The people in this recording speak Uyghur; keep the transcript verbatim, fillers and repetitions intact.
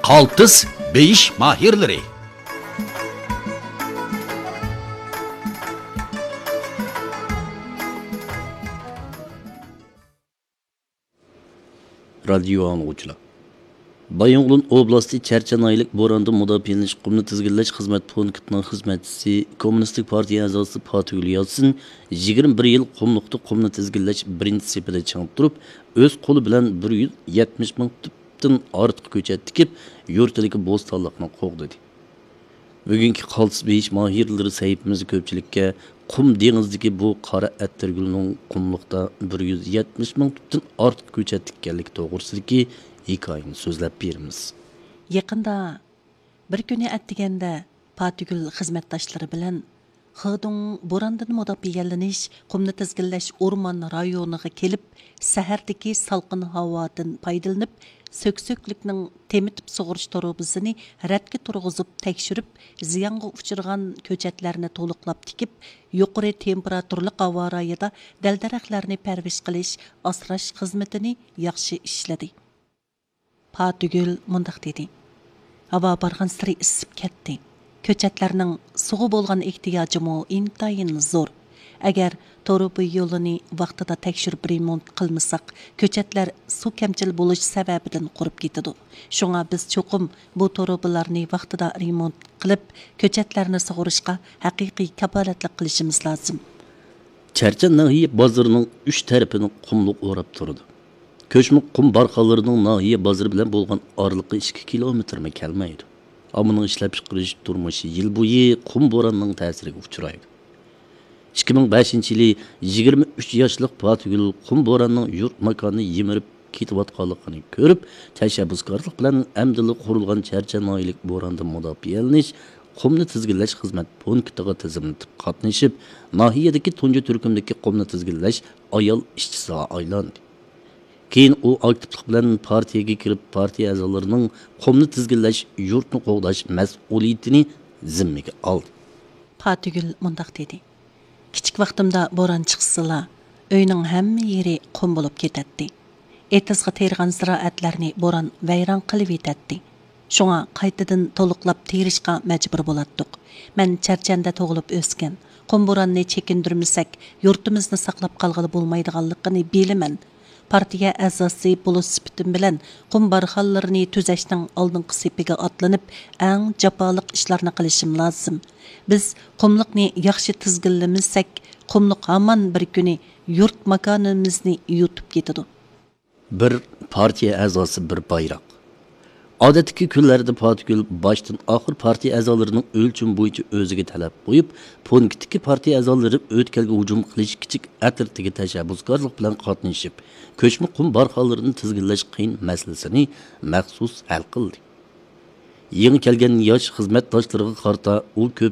قالتىس بېيىش ماھىرلىرى. رادىيو ئاڭلىغۇچىلار، بايىنغولىن ئوبلاستى چەرچەن ناھىيەلىك بورانىدىن مۇداپىئەلىنىش قۇمنى تىزگىنلەش خىزمەت پونكىتىنىڭ خىزمەتچىسى، كوممۇنىستىك پارتىيە ئەزاسى پاتىگۈل ياسىن يىگىرمە بىر يىل قۇملۇقتا قۇمنى تىزگىنلەش بىرىنچى سېپىدە چىڭ تۇرۇپ، ئۆز قولى بىلەن بىر يۈز يەتمىش مىڭ تۈپتىن ئارتۇق كۆچەت تىكىپ، يۇرتىدىكى بوستانلىقنى قوغدىدى. بۈگۈنكى قالتىس بېيىش ماھىرلىرى سەھىپىمىزدە كۆپچىلىككە قۇم دېڭىزىدىكى بۇ قارا ئەتىرگۈلنىڭ قۇملۇقتا بىر يۈز يەتمىش مىڭ تۈپتىن ئارتۇق كۆچەت تىككەنلىكى توغرىسىدىكى ھېكايىنى سۆزلەپ بېرىمىز. يېقىندا بىر كۈنى ئەتىگەندە پاتىگۈل خىزمەتداشلىرى بىلەن خېدۇڭ بوراندىن مۇداپىئەلىنىش، قۇمنى تىزگىنلەش ئورمان رايونىغا كېلىپ، سەھەردىكى سالقىن ھاۋادىن پايدىلىنىپ، سۆكسۆكلۈكنىڭ تېمىتىپ سۇغىرىش تۇرۇبىسىنى رەتكە تۇرغۇزۇپ تەكشۈرۈپ، زىيانغا ئۇچرىغان كۆچەتلەرنى تولۇقلاپ تىكىپ، يۇقىرى تېمپېراتۇرىلىق ھاۋا رايىدا دەل-دەرەخلەرنى پەرۋىش قىلىش، ئاسراش خىزمىتىنى ياخشى ئىشلىدى. پاتىگۈل مۇنداق دېدى: ھاۋا بارغانسېرى ئىسسىپ كەتتى. كۆچەتلەرنىڭ سۇغا بولغان ئېھتىياجىمۇ ئىنتايىن زور. ئەگەر تۇرۇبا يولىنى ۋاقتىدا تەكشۈرۈپ رېمونت قىلمىساق، كۆچەتلەر سۇ كەمچىل بولۇش سەۋەبىدىن قۇرۇپ كېتىدۇ. شۇڭا بىز چوقۇم بۇ تۇرۇبىلارنى ۋاقتىدا رېمونت قىلىپ، كۆچەتلەرنى سۇغىرىشقا ھەقىقىي كاپالەتلىك قىلىشىمىز لازىم. چەرچەن ناھىيە بازىرىنىڭ ئۈچ تەرىپىنى قۇملۇق ئوراپ تۇرىدۇ. كۆچمە قۇم بارخانلىرىنىڭ ناھىيە بازىرى بىلەن بولغان ئارىلىقى ئىككى كىلومېتىرمۇ كەلمەيدۇ. ئاممىنىڭ ئىشلەپچىقىرىش تۇرمۇشى يىل بويى قۇم بوراننىڭ تەسىرىگە ئۇچرايدۇ. ئىككى مىڭ بەشىنچى يىلى يىگىرمە ئۈچ ياشلىق پاتىگۈل قۇم بوراننىڭ يۇرت ماكانىنى يىمىرىپ كېتىۋاتقانلىقىنى كۆرۈپ، تەشەببۇسكارلىق بىلەن ئەمدىلا قۇرۇلغان چەرچەن ناھىيەلىك بوراندىن مۇداپىئەلىنىش قۇمنى تىزگىنلەش خىزمەت پونكىتىغا تىزىملىتىپ قاتنىشىپ، ناھىيەدىكى تۇنجى تۈركۈمدىكى قۇمنى تىزگىنلەش ئايال ئىشچىسىغا ئايلاندى. كېيىن ئۇ ئاكتىپلىق بىلەن پارتىيەگە كىرىپ، پارتىيە ئەزالىرىنىڭ قۇمنى تىزگىنلەش، يۇرتنى قوغداش مەسئۇلىيىتىنى زىممىگە ئالدى. پاتىگۈل مۇنداق دېدى: كىچىك ۋاقتىمدا بوران چىقسىلا، ئۆينىڭ ھەممە يېرى قۇم بولۇپ كېتەتتى. ئېتىزغا تېرىغان زىرائەتلەرنى بوران ۋەيران قىلىۋېتەتتى. شۇڭا قايتىدىن تولۇقلاپ تېرىشقا مەجبۇر بولاتتۇق. مەن چەرچەندە تۇغۇلۇپ ئۆسكەن. قۇم بوراننى چېكىندۈرمىسەك، يۇرتىمىزنى ساقلاپ قالغىلى بولمايدىغانلىقىنى بىلىمەن. پارتىيە ئەزاسى بولۇش سۈپىتىم بىلەن قۇم بارخانلىرىنى تۈزەشنىڭ ئالدىنقى سېپىگە ئاتلىنىپ، ئەڭ جاپالىق ئىشلارنى قىلىشىم لازىم. بىز قۇملۇقنى ياخشى تىزگىنلىمىسەك، قۇملۇق ھامان بىر كۈنى يۇرت ماكانىمىزنى يۇتۇپ كېتىدۇ. بىر پارتىيە ئەزاسى، بىر بايراق. ئادەتتىكى كۈنلەردە پاتىگۈل باشتىن ئاخىر پارتىيە ئەزالىرىنىڭ ئۆلچىمى بويىچە ئۆزىگە تەلەپ قويۇپ، پونكىتتىكى پارتىيە ئەزالىرى ئۆتكەلگە ھۇجۇم قىلىش كىچىك ئەترىتىگە تەشەببۇسكارلىق بىلەن قاتنىشىپ، كۆچمە قۇم بارخانلىرىنى تىزگىنلەش قىيىن مەسىلىسىنى مەخسۇس ھەل قىلدى. يېڭى كەلگەن ياش خىزمەتداشلىرىغا قارىتا ئۇ كۆپ